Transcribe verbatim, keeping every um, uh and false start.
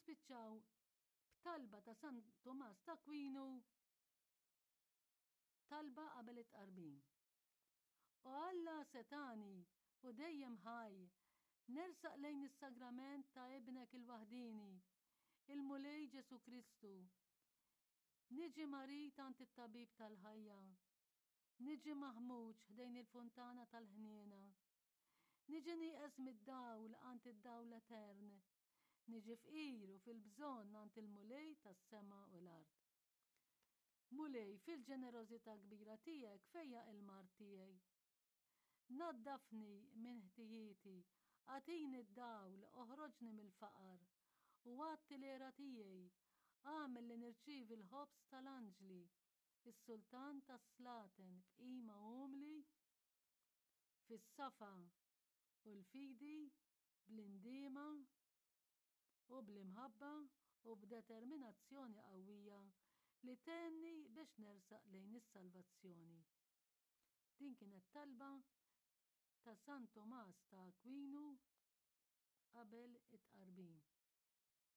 Nispiċċaw b'talba ta' San Tumas ta' Aquinu, talba qabel it-tqarbin. O Alla setgħani u dejjem ħaj, nersaq lejn is-sagrament ta' ibnek il-waħdini, il-Mulej Ġesu Kristu. Niġi marid għand it-tabib tal-ħajja. Niġi maħmuġ ħdejn il-funtana tal-ħniena. Niġi nieqes mid-dawl għand id-dawl etern. Niġi fqir u fil-bżonn għand il-Mulej tas-sema u l-art. Mulej, fil-ġenerożità kbira tiegħek fejjaq il-mard tiegħi. Naddafni minn ħtijieti, agħtini d-dawl, oħroġni mill-faqar, u għatti l-għera tiegħi, agħmel li nirċievi l-ħobż tal-anġli, is-sultan tas-slaten b'qima umli, fis-safa u l-fidi, bl-indiema u bl-imħabba u b'determinazzjoni qawwija li tgħinni biex nersaq lejn is-salvazzjoni. Din kienet talba ta' San Tomas ta' Aquinu qabel it-tqarbin.